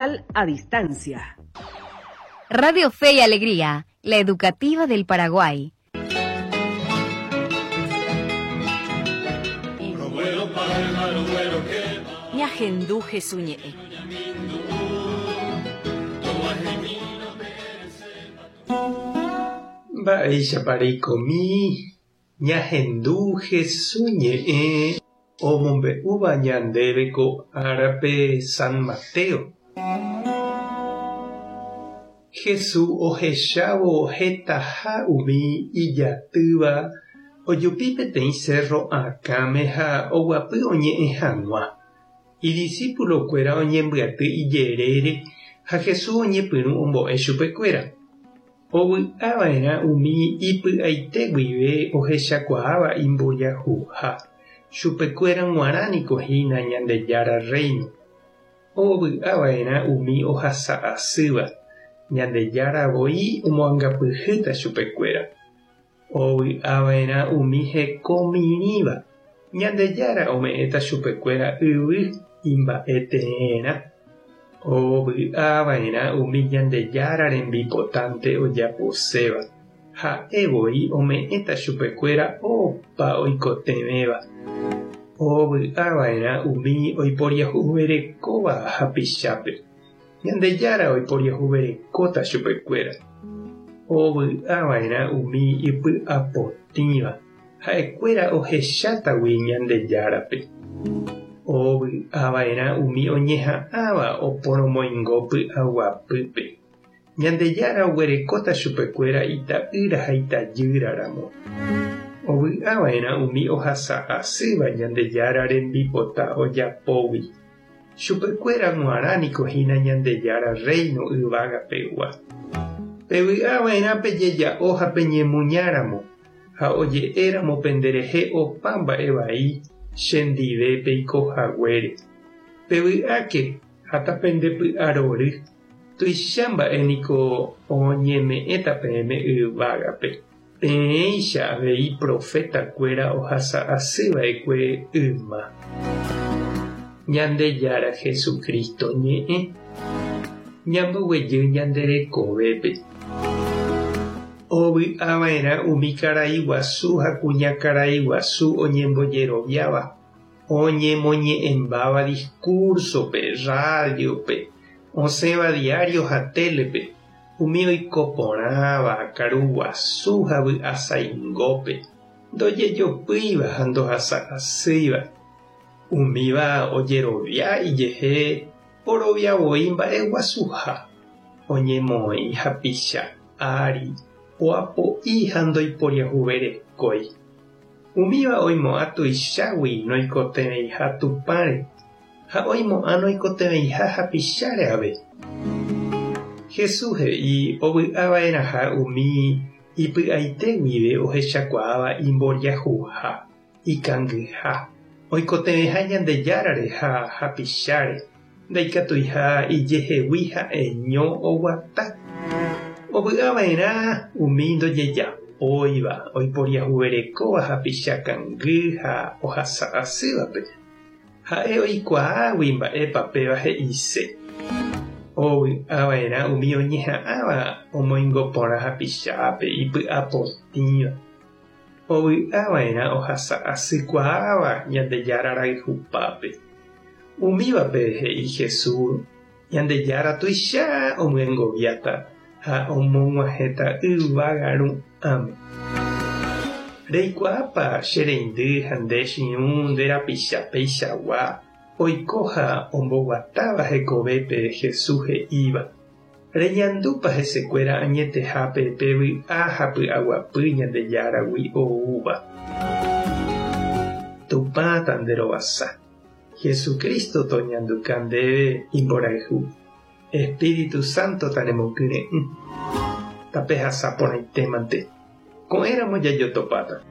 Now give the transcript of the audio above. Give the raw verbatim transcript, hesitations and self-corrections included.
A distancia. Radio Fe y Alegría, la educativa del Paraguay. Ñahendu Jesús ñe'ẽ. Mba'éichapa reikomi ñahendu Jesús ñe'ẽ omombe'úva ñandéve ko árape San Mateo. Jesús ohechávo hetaha umi ijatýva ojupi peteĩ cerro akãme ha oguapy oñe'ẽ hag̃ua. Idiscípulokuéra oñembyaty ijerére ha Jesús oñepyrũ ombo'e chupekuéra. Ovy'ava'erã umi ipy'aite guive ohechakuaáva imbojahuha. Chupekuéra g̃uarã niko hína Ñandejára Reino. Ovy'ava'erã umi ohasa'asýva. Ñandejára voi omoangapyhýta chupekuéra. Ovy'ava'erã umi hekomirĩva. Ñandejára ome'ẽta chupekuéra yvy imba'eteerã. Ovy'ava'erã umi Ñandejára rembipotánte ojaposéva. Ha'e voi ome'ẽta chupekuéra opa oikotevẽva. Ovy'ava'erã umi oiporiahuverekóva hapichápe. Ñandejára oiporiahuverekóta chupekuéra. Ovy'ava'erã umi ipy'apotĩva. Ha'ekuéra ohechátagui Ñandejárape. Ovy'ava'erã umi oñeha'ãva oporomoingo py'aguapýpe. Ñandejára oguerekóta chupekuéra ita'ýra ha itajýraramo. Ovy'ava'erã umi ohasa'asýva Ñandejára rembipota ojapógui. Chupekuéra g̃uarã niko hína Ñandejára Reino yvagapegua. Pevy'ava'erã pejeja'o ha peñemuñáramo ha oje'éramo penderehe opa mba'e vai chendive peikohaguére. Pevy'áke ha tapendepy'arory. Tuicha mba'e niko oñeme'ẽta peẽme yvágape. Peẽicha avei profetakuéra ohasa'asyva'ekue yma. Ñandejára Jesucristo ñe'ẽ. Ñamboguejy ñande rekovépe. Ovy'ava'erã umi karai guasu ha kuña karai guasu oñembojeroviáva, oñemoñe'ẽmbáva discursope, radiope, osẽva diario ha telepe, umi oikoporãva karu guasu ha vy'asaingópe, ndojejopýiva ha ndohasa'asýiva. Umíva ojerovia ijehe oroviavoi mba'eguasuha, oñemoĩ hapicha ári, oapo'i ha ndoiporiahuverekói. Umíva oimo'ã tuichágui noikotevẽiha Tupãre ha oimo'ã noikotevẽiha hapicháre ave. Jesús he'i ovy'ava'erãha umi ipy'aite guive ohechakuaáva imboriahuha, ikangyha, oikotevẽha Ñandejárare ha hapicháre, ndaikatuiha ijehegui ha'eño oguata. Ovy'ava'erã umi ndojejapóiva, oiporiahuverekóva hapicha kangy ha ohasa'asývape. Ha'e oikuaágui mba'épa péva he'ise. Ovy'ava'erã umi oñeha'ãva omoingo porã hapichápe ipy'apotĩva. Ovy'ava'erã ohasa'asykuaáva Ñandejára rayhupápe. Umívape he'i Jesús Ñandejára tuicha omyengoviáta ha omog̃uahẽta yvága ru'ãme. Reikuaápa che reindy ha nde chiũ nde rapicha peichagua oiko ha omboguatáva hekovépe Jesús he'íva. Reñandúpa hesekuéra añetehápe pe vy'a ha py'aguapy Ñandejáragui oúva. Tupã tanderovasa. Jesucristo toñanduka ndéve imborayhu. Espíritu Santo tanemokyre'ỹ. Tapehasa porãitémante. Ko'ẽramo jajotopáta.